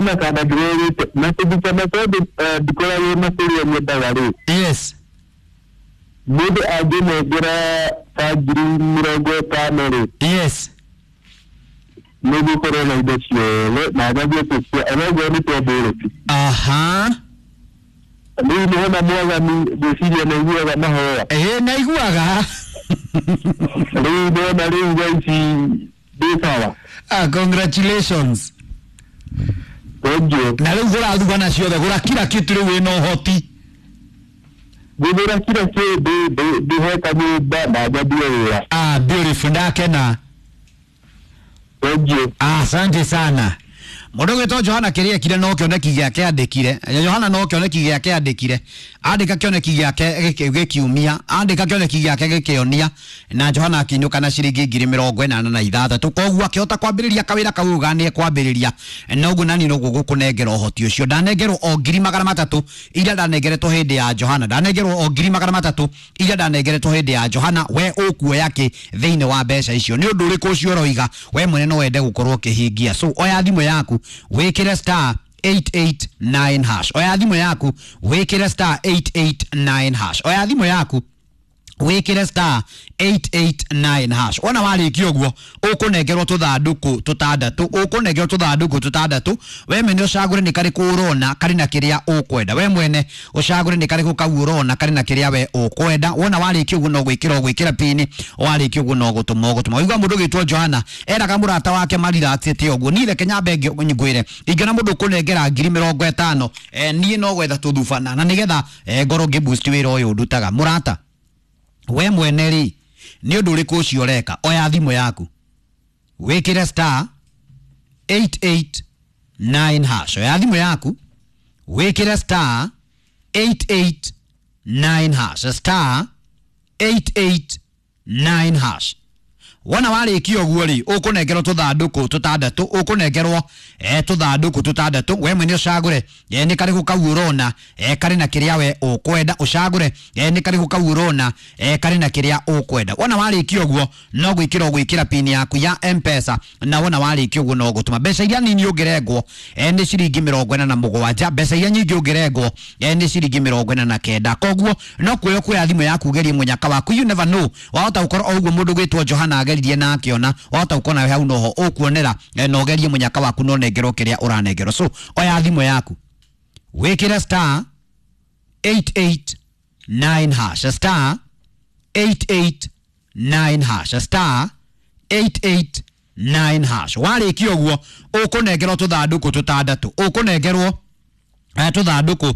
Hena kanda ndĩrerĩte na kũruta na tondũ ndikoragwo na kũrĩa nyendaga rĩ. Yes. Mũndũ angĩnengera ta 50,000 rĩ. Yes. Nĩgũkorwo na indo ciothe na ngathiĩ kũcia onoguo nĩ twambũrũki. Aha. Rĩu nĩhona mwathani ngwĩciria nĩaiguaga mahoya. Ĩĩ naiguaga. Rĩu ndona rĩu thaa ici ndĩ sawa. Ah, congratulations. Thank you. Na rĩu gũra thugana ciothe, gũra kila kitu rĩu wĩna ũhoti. Ngũgũra kila kĩndũ ndĩhe kanyũmba na nyambie wĩra. Ah, beautiful, ndakena. Thank you. Asante sana. Mũndũ ũgwĩtwo Johana kĩrĩa ekire no kĩoneki gĩake andĩkire. Johana no kĩoneki gĩake andĩkire. Andĩka kĩoneki gĩake gĩkiumia, andĩka kĩoneki gĩake gĩkĩonia, na Johana akĩinũka na ciringi 86,000. Koguo akĩhota kwambĩrĩria kawĩra kau uga nĩ ekwambĩrĩria. Na ũguo nani noguo gũkũnengera ũhoti ũcio. Ndanengerwo o 300,000 iria ndanengeretwo hĩndĩ ya Johana. Ndanengerwo o 300,000 iria ndanengeretwo hĩndĩ ya Johana. We ũkuoya kĩ thĩinĩ wa mbeca icio? Nĩ ũndũ ũrĩkũ ũcio ũroiga we mwene no wende gũkorwo ũkĩhingia? So oya thimũ yaku wĩkĩre star 889 hash. Oya thimũ yaku wĩkĩre star 889 hash. Oya thimũ yaku wĩkĩre star 889 hash. Wona warĩkia ũguo ũkũnengerwo tũthandũkũ tũtandatũ, ũkũnengerwo tũthandũkũ tũtandatũ. We mwene ũcagũre nĩ karĩkũ ũrona karĩ na kĩrĩa ũkwenda. We mwene ũcagũre nĩ karĩkũ kau ũrona karĩ na kĩrĩa we ũkwenda. Wona warĩkia ũguo no gwĩkĩra ũgwĩkĩra pini, warĩkia ũguo no gũtũma ũgũtũma. Waigua mũndũ ũgwĩtwo Johana eraga mũrata wake mariraxĩte ũguo. Niĩ reke nyambe ngwĩre ingĩona mũndũ ũkũnengera 50,000, niĩ no gwetha tũthubana na nĩgetha ngorwo ngĩ boost wĩra ũyũ ndutaga. Mũrata, we mwene rĩ nĩ ũndũ ũrĩkũ ũcio ũreka? Oya thimũ yaku wĩkĩre star 889 hash. Oya thimũ yaku wĩkĩre star 889 hash, star 889 hash. Wona warĩkia ũguo rĩ ũkũnengerwo tũthandũkũ tũtandatũ, ũkũnengerwo tũthandũkũ tũtandatũ. We mwene ũcagũre nĩ karĩkũ kau ũrona karĩ na kĩrĩa we ũkwenda. Ũcagũre nĩ karĩkũ kau ũrona karĩ na kĩrĩa ũkwenda. Wona warĩkia ũguo no gwĩkĩra ũgwĩkĩra pini yaku ya M-Pesa, na wona warĩkia ũguo no gũtũma mbeca iria nini ũngĩrengwo nĩ ciringi 47, mbeca iria nyingĩ ũngĩrengwo nĩ ciringi 49. Koguo no kuoya kuoya thimũ yaku ũgerie mũnyaka waku. You never know, wahota gũkorwo o ũguo mũndũ ũgwĩtwo Johana ageririe na akĩona, wahota gũkorwo nawe hau noho ũkuonera na ũgerie mũnyaka waku no nengerwo kĩrĩa ũranengerwo. So oya thimũ yaku wĩkĩre star 889 hash, star 889 hash, star 889 hash. Warĩkia ũguo ũkũnengerwo tũthandũkũ tũtandatũ, ũkũnengerwo tũthandũkũ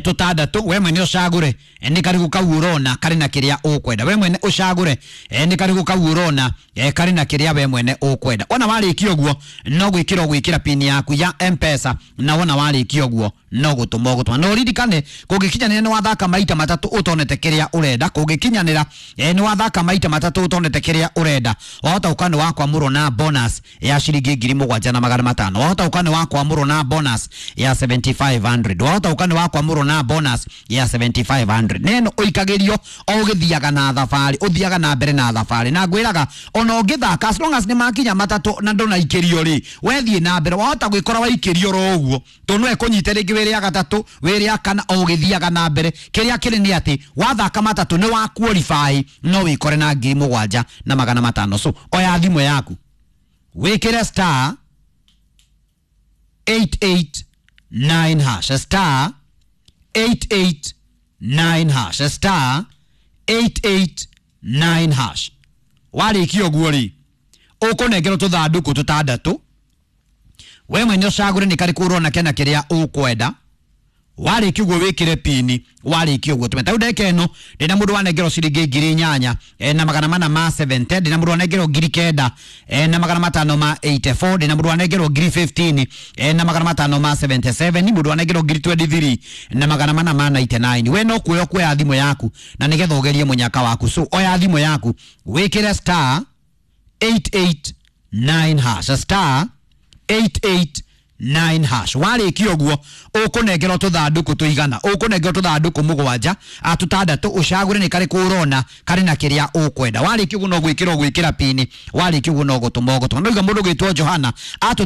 tũtandatũ. We mwene ũcagũre nĩ karĩkũ kau ũrona karĩ na kĩrĩa ũkwenda. We mwene ũcagũre nĩ karĩkũ kau ũrona karĩ na kĩrĩa we mwene ũkwenda. Wona warĩkia ũguo no gwĩkĩra ũgwĩkĩra pini yaku ya M-Pesa, na wona warĩkia ũguo no gũtũma ũgũtũma. Na ũririkane kũngĩkinyanĩra nĩ wathaka maita matatũ ũtonete kĩrĩa ũrenda, kũngĩkinyanĩra nĩ wathaka maita matatũ ũtonete kĩrĩa ũrenda, wahota gũkorwo nĩ wakwamũrwo na bonus ya ciringi 7,500, wahota gũkorwo nĩ wakwamũrwo na bonus ya 7,500, wahota gũkorwo nĩ wakwamũrwo na bonus ya 7,500. Neno ũikagĩrio o ũgĩthiaga na thabarĩ, ũthiaga na mbere na thabarĩ, na ngwĩraga ona ũngĩthaka as long as nĩ makinya matatũ na ndũnaikĩrio rĩ, wethiĩ na mbere wahota gwĩkora waikĩrio oro ũguo, tondũ no ĩkũnyite rĩngĩ wĩrĩ ya gatatũ wĩrĩ ya kana o ũgĩthiaga na mbere. Kĩrĩa kĩrĩ nĩ atĩ wathaka matatũ nĩ wa qualify no wĩkore na 7,500. So oya thimũ yaku wĩkĩre star 889 hash, star 889 hash, star 889 hash. Warĩkia ũguo rĩ ũkũnengerwo tũthandũkũ tũtandatũ. We mwene ũcagũre nĩ karĩkũ ũrona kena kĩrĩa ũkwenda. Warĩkia ũguo wĩkĩre pini, warĩkia ũguo tũme. Tarĩu ndagĩka ĩno ndĩna mũndũ wanengerwo ciringi 8,470, ndĩna mũndũ wanengerwo 9,584, ndĩna mũndũ wanengerwo 15,577, mũndũ wanengerwo 23,499. We no kuoya kuoya thimũ yaku na nĩgetha ũgerie mũnyaka waku. So oya thimũ yaku wĩkĩre star 889 hash, star 889 hash. Warĩkia ũguo ũkũnengerwo tũthandũkũ tũigana, ũkũnengerwo tũthandũkũ mũgwanja tũtandatũ, ũcagũre nĩ karĩkũ ũrona karĩ na kĩrĩa ũkwenda. Warĩkia ũguo no gwĩkĩra ũgwĩkĩra pini, warĩkia ũguo no gũtũma ũgũtũma. No iga mũndũ ũgwĩtwo Johana atũta